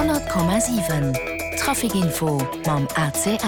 100,7 Trafic Info mam ACL.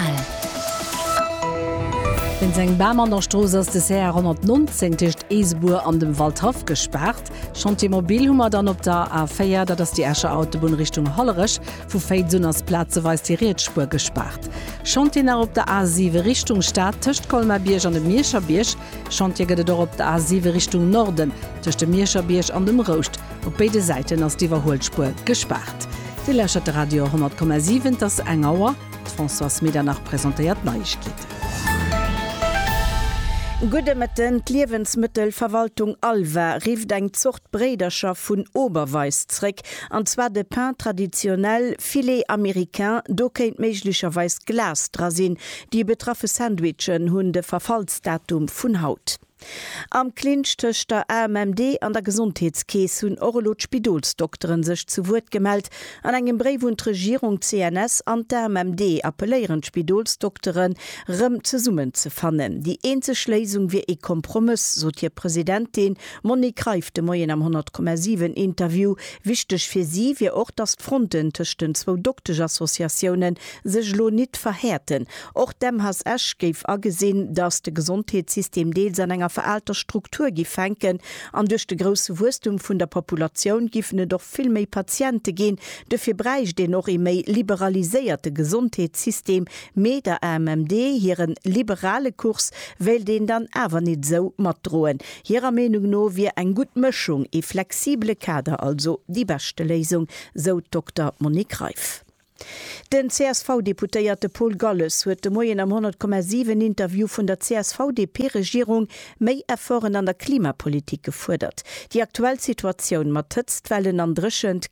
Wéinst engem Bam an der Strooss ass de CR 119 tëscht Eesebuer an dem Waldhaff gespaart. Chantier mobile hu mer dann op der A4, dat ass déi Escher Autobunn Richtung Hollerech. Vu Féiz un ass plazeweis déi riets Spuer gespaart. Chantier nach op der A7 Richtung Stad tëscht Colmar-Bierg an dem Mierscher Bierg. Chantier gëtt et och op der A7 Richtung Norden, tëscht dem Mierscher Bierg an dem Rouscht. Op béide Säiten ass d'Iwwerhuelspuer gespaart. Dir lauschtert de Radio 10,7, et ass eng Auer. D'Françoise Medernach presentéiert d'Neiegkeeten. Gudde Mëtten. D'Liewensmëttelverwaltung Alva rifft eng Zort Bréidercher vun Oberweis zréck, an zwar de Pain traditionnel Filet américain. Do kéint méiglecherweis Glas dra sinn. Déi betraffe Sandwichen hunn de Verfallsdatum vun haut. Am Clinch tëscht der AMMD an der Gesondheetskeess hunn och elo d'Spidolsdokteren sech zu Wuert gemellt. An engem Bréif un d'Regierung, d'CNS an d'AMMD appelléieren d'Spidolsdokteren, rëm zesummen ze fannen. Déi eenzeg Léisung wier ee Kompromëss, sot hir Presidentin Monique Reiff de Moien am 100,7 Interview. Wichteg fir si wier och, datt d'Fronten tëscht den zwou Doktesch-Associatiounen sech elo nit verhäerten. Och d'MHS Esch géif agesinn, datt de Gesondheetssystem deels an enger veraalter Struktur giff hänken an duerch de grousse Wuesstum vun der Populatioun giffen et och vill méi Patiente ginn. Dofir bräicht een och ee méi liberaliséierte Gesondheetssystem. Mee der AMMD hiren liberale Kurs wéilt een dann awer nit esou matdroen. Hirer Meenung no wier eng gutt Mëschung, ee flexibele Kader also, déi beschte Léisung, sou d'Dokter Monique Reiff. Den CSV-Deputéierte Paul Galles huet de Moien am 100,7 Interview vun der CSV-DP-Regierung méi Efforten an der Klimapolitik gefuerdert. Déi aktuell Situatioun mat Hëtztwellen an Dréchent.